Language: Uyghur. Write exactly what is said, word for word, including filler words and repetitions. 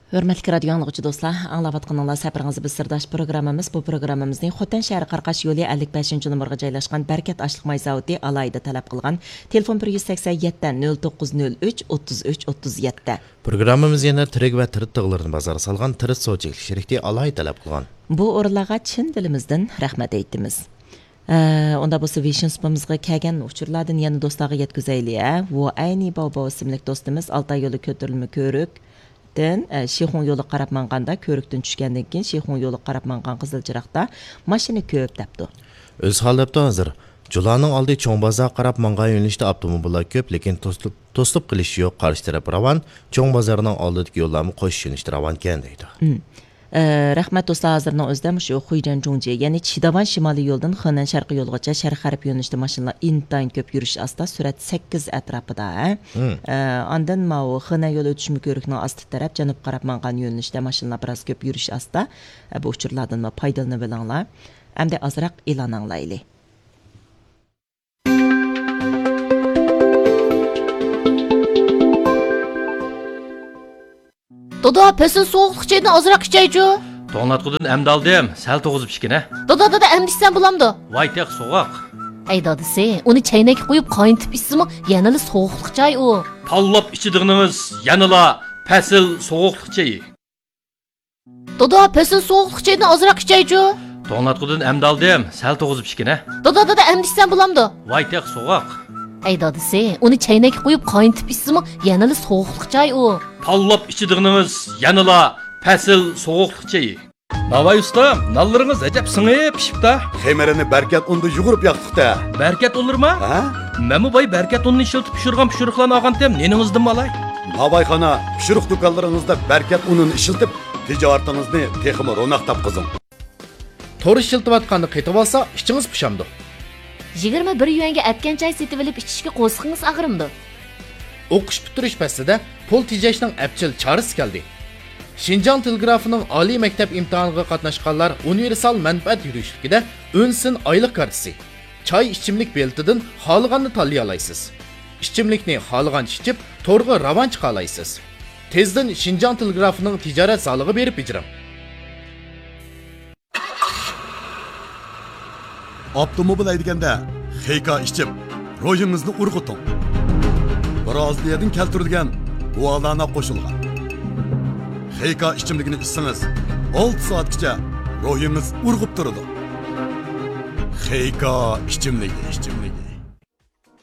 ھۆرمەتلىك رادىيو ئاڭلىغۇچى دوستلار، ئاڭلاۋاتقىنىڭلار سەپىرىڭىز بىز سىرداش پروگراممىمىز. بۇ پروگراممىمىزنى خوتەن شەھىرى قاراقاش يولى ئەللىك بەشىنچى نومۇرغا جايلاشقان بەرىكەت ئاشلىق ماي زاۋۇتى ئالاھىدە تەلەپ قىلغان. تېلېفون بىر يۈز سەكسەن يەتتە، نۆل توققۇز نۆل ئۈچ، ئوتتۇز ئۈچ، ئوتتۇز يەتتە. پروگراممىمىز يەنە تىرىك ۋە تىرىت تىغلىرىنى بازارغا سالغان تىرىت سودا چەكلىك شىركىتى ئالاھىدە تەلەپ قىلغان. بۇ ئورۇنلارغا چىن دىلىمىزدىن رەھمەت ئېيتىمىز. ئە، ئۇنداق بولسا، ۋېيشىن سۇپىمىزغا كەلگەن ئۇچۇرلاردىن يەنە دوستلارغا يەتكۈزەيلى، ھە؟ ۋۇئەينى باۋباۋ ئىسىملىك دوستىمىز ئالتاي يولى كۆتۈرۈلمە كۆۋرۈكتىن، ئە، شىخۇڭ يولىغا قاراپ ماڭغاندا، كۆۋرۈكتىن چۈشكەندىن كېيىن شىخۇڭ يولىغا قاراپ ماڭغان قىزىل چىراغدا ماشىنا كۆپ دەپتۇ. ئۆزى ھال دەپتۇ ھازىر. جۇلانىڭ ئالدى چوڭ بازار قاراپ ماڭغان يۆنىلىشتە ئاپتوموبىللار كۆپ، لېكىن توسۇلۇپ، توسۇلۇپ قېلىش يوق، قارشى تەرەپ راۋان، چوڭ بازارنىڭ ئالدىدىكى يوللارمۇ قوشۇش يۆنىلىشتە راۋانكەن دەيدۇ. مم. ئە، رەھمەت دوستلار، ھازىرنىڭ ئۆزىدە مۇشۇ خۇيجەن جۇڭجى، يەنى چىداۋان شىمالىي يولىدىن خېنەن شەرقىي يولىغىچە شەرق غەرب يۆنىلىشتە ماشىنىلار ئىنتايىن كۆپ يۈرۈش ئاستا، سۈرئەت سەككىز ئەتراپىدا، ھە؟ مم. ئە، ئاندىن ماۋۇ خېنەن يولى ئۆتۈشمە كۆۋرۈكنىڭ ئاستى تەرەپ جەنۇبقا قاراپ ماڭغان يۆنىلىشتە ماشىنىلار بىراز كۆپ يۈرۈش ئاستا. ئە، بۇ ئۇچۇرلاردىن پايدىلىنىۋېلىڭلار. ئەمدى ئازراق ئېلان ئاڭلايلى. دادا، پەسىل سوغۇقلۇق چايدىن ئازراق ئىچەيچۇ. توڭلاتقۇدىن ئەمدى ئالدىم، سەل توغۇزۇپ ئىچكىنە. دادا، دادا، ئەمدى ئىچسەم بولامدۇ؟ ۋاي تېخى سوغۇق. ئەي دادىسى، ئۇنى چەينەككە قۇيۇپ قاينىتىپ ئىچسىمۇ يەنىلا سوغۇقلۇق چاي ئۇ. تاللاپ ئىچىدىغىنىڭىز يەنىلا پەسىل سوغۇقلۇق چېيى. دادا، پەسىل سوغۇقلۇق چايدىن ئازراق ئىچەيچۇ. توڭلاتقۇدىن ئەمدى ئالدىم، سەل توغۇزۇپ ئىچكىنە. دادا، دادا، ئەمدى ئىچسەم بولامدۇ؟ ۋاي تېخى سوغۇق. ئەي دادىسى، ئۇنى چەينەككە قۇيۇپ قاينىتىپ ئىچسىمۇ يەنىلا سوغۇقلۇق چاي ئۇ. تاللاپ ئىچىدىغىنىڭىز يەنىلا پەسىل سوغۇقلۇق چېيى. ناۋاي ئۇستام، نانلىرىڭىز ئەجەب سىڭىپ پىشىپتا. خېمىرىنى بەركەت ئۇندا يۇغۇرۇپ ياقتۇق-تە. بەركەت ئۇنلىرىما؟ ھە؟ مەنمۇ باي بەركەت ئۇنىنى ئىشلىتىپ پىشۇرغان پىشۇرۇقلارنى ئالغانتىم، نېنىڭىزدىنمۇ ئالاي؟ ناۋايخانا، پىشۇرۇق دۇكانلىرىڭىزدا بەركەت ئۇنىنى ئىشلىتىپ، تىجارىتىڭىزنى تېخىمۇ روناق تاپقۇزۇڭ. تور ئىشلىتىۋاتقاننى قېتىۋالسا، ئىچىڭىز پۇشامدۇ؟ يىگىرمە بىر يۈەنگە ئەتكەن چاي سېتىۋېلىپ ئىچىشكە قورسىقىڭىز ئاغرىمدۇ؟ ئوقۇش پۈتتۈرۈش پەسلىدە پۇل تېجەشنىڭ ئەپچىل چارىسى كەلدى. شىنجاڭ تېلېگرافىنىڭ ئالىي مەكتەپ ئىمتىھانىغا قاتناشقانلار ئۇنىۋېرسال مەنپەئەت يۈرۈشلۈكىدە ئۈن سىن ئايلىق كارتىسى، چاي ئىچىملىك بېلىتىدىن خالىغاننى تاللىيالايسىز. ئىچىملىكنى خالىغانچە ئىچىپ، تورغا راۋان چىقالايسىز. تېزدىن شىنجاڭ تېلېگرافىنىڭ تىجارەت زالىغا بېرىپ بېجىرىڭ. ئاپتوموبىل ھەيدىگەندە خېيكا ئىچىپ، روھىڭىزنى ئۇرغۇتۇڭ. برازىلىيەدىن كەلتۈرۈلگەن گۇالانا قوشۇلغان خېيكا ئىچىملىكىنى ئىچسىڭىز، ئالتە سائەتكىچە روھىڭىز ئۇرغۇپ تۇرىدۇ. خېيكا ئىچىملىكى، ئىچىملىكى.